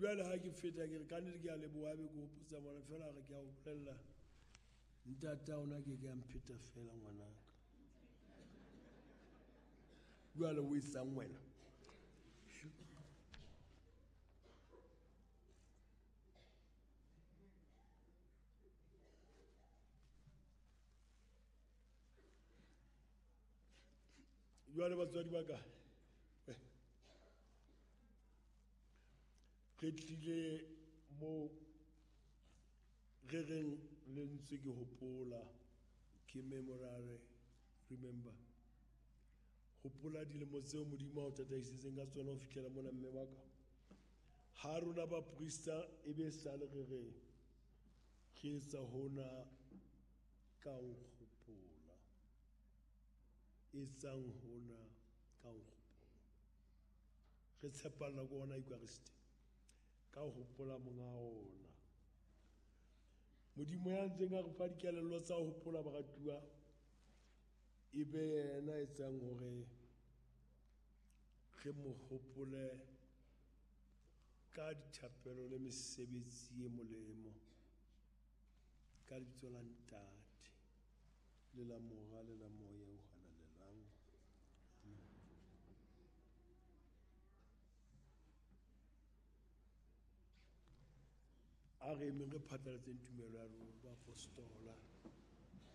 Jwale ha ke feta ke re ka nnete ke a leboha be ke hopotsa mona fela re ke a o bolella ntata ona ke ke a mpheta fela ngwanaka. Jwale o etsang wena? Jwale batswadi ba ka, re tlile mo re reng lentswe ke hopola, ke memorare, remember. Hopola dilemo tseo Modimo a o tataisitseng ka tsona ho fihlela mona mme wa ka. Ha rona baprista e be sale re re re etsa hona ka nkgopola. Etsang hona ka nkgopola. Re tshepalla ko ona Eucharist ka ho hopola monga ona. Modimo ya ntseng a re fa dikelello tsa ho hopola baratuwa e be yena etsang hore re mo hopole ka dithapelo le mesebetsi e molemo ka lebitso la Ntate le la Mora le la Moya o Halalelang. Amen. A re emeng re phatlalatseng tumelo ya rona baapostola.